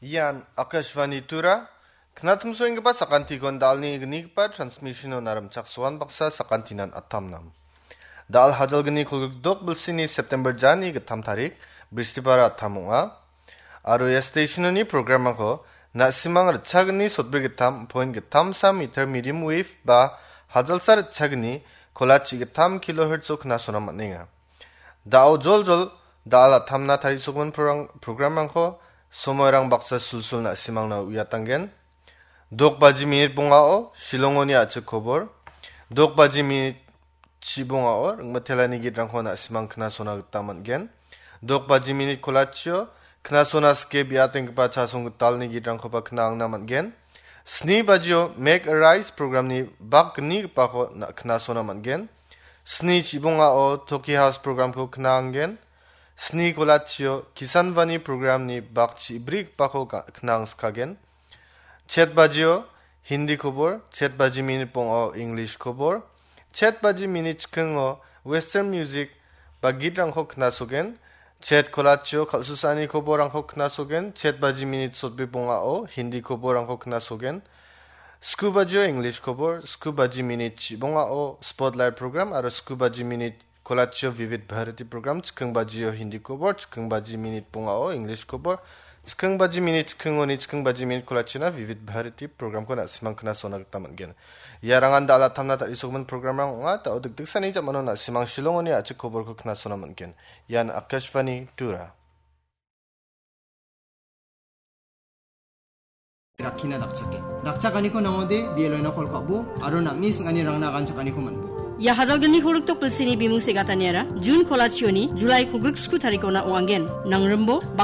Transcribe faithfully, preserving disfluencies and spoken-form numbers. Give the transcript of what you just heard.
Ian Akashvani Tura, knatimsoenggipa sakantikon dalni gnigipa transmission-o narimchaksoan baksa sakantinan atamnam. Dal hajalgni kolgrikdok bilsini September jani gittam tarik, Bristipara atam ong·a. Aro ia station-oni program-rangko na·simang ritchagni sotbri gittam point gittam sa meter medium wave ba hajalsa ritchagni kolachi gittam kilohertz-o knasona man·enga. Da·o joljol da·al atamna tarisogimin prorang-, program-rangko somoirang baksa sulsul na·simangna uiatanggen. Dok baji minit bongao Shillongoni a·chik kobor. Dok baji minit chibongao ringmitelani gitrangko na·simang knasona gita man·gen. Dok baji minit kolachio knasona sike biatenggipa chasong gitalni gitrangkoba kna·angna man·gen. Sni bajio Make a Rise programni bak gnigipako na-, knasona man·gen. Sni chibongao Toki House programko kna·anggen. Sni kolachio Kisanvani programni bak chibrigipako ga-, kna·angskagen. Chet bajio Hindi kobor, chet baji minit bongao English kobor, chet baji minit chikingo Western music ba gitrangko knasogen, chet kolachio kal·susani koborrangko knasogen, chet baji minit sotbri bongao Hindi koborrangko knasogen, sku bajio English kobor, sku baji minit chibongao Spotlight program aro sku baji minit kolachio Vivid Bharati program, chiking bajio Hindi kobor, chiking baji minit bongao English kobor, chiking baji minit chikingoni chiking baji minit kolachiona Vivid Bharati programko na·simang knasona gita man·gen. Iarangan da·al atamna tarisogimin programrang ong·a, da·o dikdiksani jamano na·simang Shillongoni a·chik koborko knasona man·gen. Ian Akashvani Tura. Rakkina dakchake. Dakchakaniko nangode, B L O-na kol ka·bo, aro nang·ni sing·anirangna aganchakaniko man·bo. Ia hajalgni kolgrikdok bilsini bimung segataniara, Jun kolachioni, Julai kolgriksku tarikona ong·angen. Nangrimbo, bak-